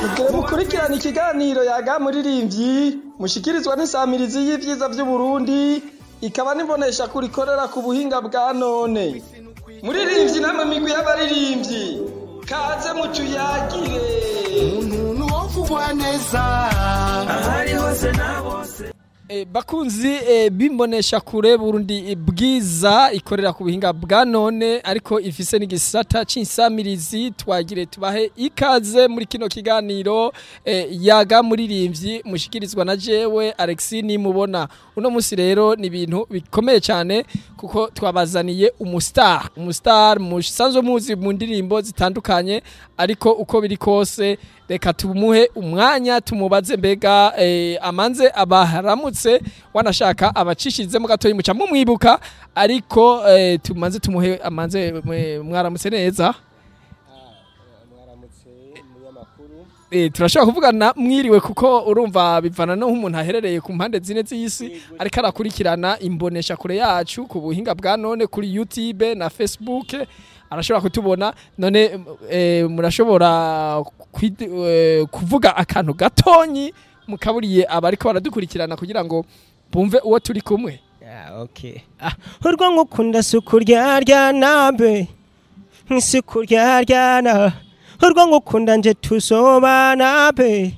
Mugire mukurikirana ikiganiro Yaga Muririmbyi mushikirizwa n'insamirizi y'ivyiza vy'Uburundi, ikaba n'imbonesha kure ikorera ku buhinga bwa none. Muririmbyi namwe migwi y'abaririmbyi, kaze mutuyagire. Umuntu wovugwa neza ahari hose na bose. Bakunzi bimbonesha kure Burundi Bwiza ikorera ku buhinga bwa none, ariko ifise n'igisata c'insamirizi, twagire tubahe ikaze muri kino kiganiro Yaga Muririmbyi mushikirizwa na jewe Alexis Nimubona. Uno musi rero ni ibintu bikomeye cyane kuko twabazaniye umustar musanzwe muzi mu ndirimbo zitandukanye, ariko uko biri kose reka tumuhe umwanya tumubaze mbega amanze abaharamutse, wanashaka abacishizemo gatoyi muca mumwibuka, ariko tumanze tumuhe amanze. Mwaramutse neza? Mwaramutse, munyamakuru. Turashobora kuvugana mwiriwe, kuko urumva bivana no nk'umuntu aherereye ku mpande zine z'isi ariko arakurikirana imbonesha kure yacu ku buhinga bwa none kuri YouTube na Facebook, arashobora kutubona. None murashobora kuvuga akantu gatonyi mukaburiye abariko baradukurikirana kugira ngo bumve uwo turi kumwe? Yeah, okay. Urwo ngukunda sukurya nambe sukurya, urwo ngukunda nje tusobana be,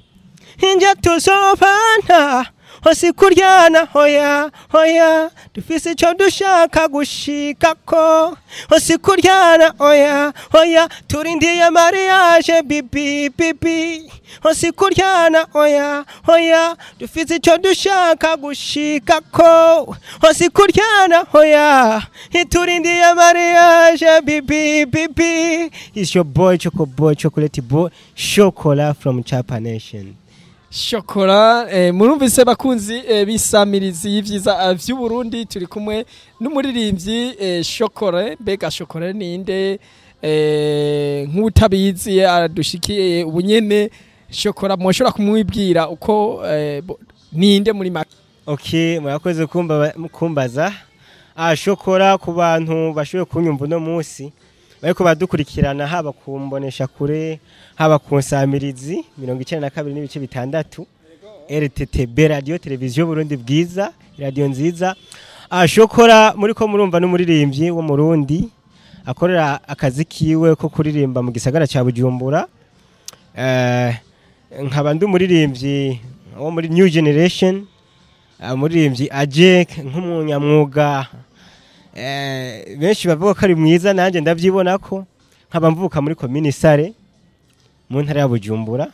nje tusobana hose kuryana. Hoya hoya, dufise ico dushaka gushikako. Hose kuryana, oya hoya, turindiye mariage bibi bibi. Hose kuryana, oya hoya, dufise ico dushaka gushikako. Hose kuryana, hoya, turindiye mariage bibi bibi. It's your boy Choco Boy, Chocolate Boy Chocola from Chapa Nation. Shokora, murumvise bakunzi bisamirizi y'ivyiza vy'Uburundi, turi kumwe n'umuririmbyi Shokore. Mbega Shokore ninde? Nk'utabizi adushikiye ubunyene, Shokora mwoshobora kumwibwira uko ninde muri make? Okay, murakoze kumbaza. Shokora, ku bantu bashoboye kunyumva uno munsi bariko badukurikirana, haba kumbonesha kure, haba ku nsamirizi 92.6 RTTB, Radio Televiziyo Burundi Bwiza, radio nziza. Shokora muri ko murumva n'umuririmbyi wo Murundi akorera akazi kiwe ko kuririmba mu gisagara ca Bujumbura. Nkaba ndi umuririmbyi wo muri New Generation, umuririmbyi aje nk'umunyamwuga, benshi bavuga ko ari mwiza, nanjye ndabyibona ko. Nkaba mvuka muri komini Sare mu ntara ya Bujumbura.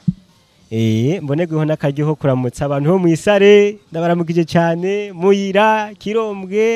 Mbonegeho n'akaryo ko kuramutsa abantu bo mu Isare, ndabaramukije cyane, Muyira, Kirombwe.